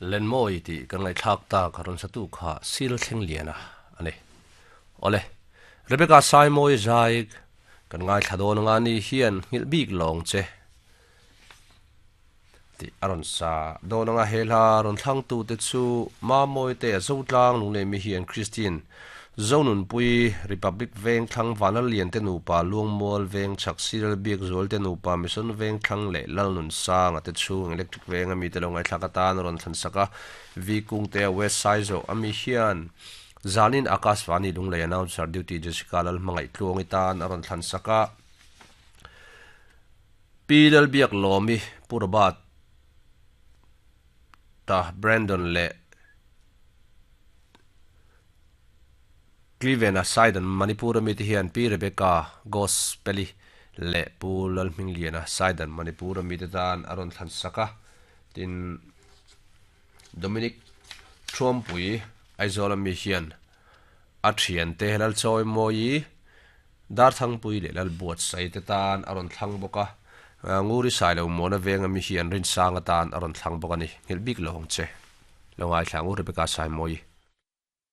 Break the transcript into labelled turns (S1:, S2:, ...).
S1: Lenmawi tih kan ngaihthlak tak a rawn satu kha Sil Thlengliana a ni. Awle, Rebecca Saimawi zai kan ngaithla dawn anga ni hian nghilh bik lawng che tih a rawn sa dawn anga he hla rawn thlangtute chu Mamawi te Zotlang Lunglemi hian Christine Zonunpui, Republic Veng thlang Vanlallian te nupa Luangmual Veng chhak Cyril Biakzual te nupa Mission Veng thlang leh Lalnunsanga te chhung Electric Veng ami te lo ngaihthlak atan a rawn thlan sak a, V Kungtea West Saizaw ami hian zanin Akashvani Lunglei Announcer Duty Jessica Lalhmangaih Tluangi tan a rawn thlan sak a, Pi Lalbiaklawmi, Pu Robert ta Brandon leh Cleveland-a Sidon Manipur-a mite hian Pi Rebecca Gospel-i leh Pu Lalhmingliana Sidon Manipur-a mite tan a rawn thlan sak a. Tin, Dominic Thuampui Aizawl-a mi hian a thiante Lalchawimawi, Darthangpui leh Lalbuatsaih te tan a rawn thlang bawk a. Nguri Sailo Muana venga mi hian Rinsanga tan a rawn thlang bawk a ni. Nghilh bik lo ang che. Lo ngaithla Ngur Rebecca Saimawi.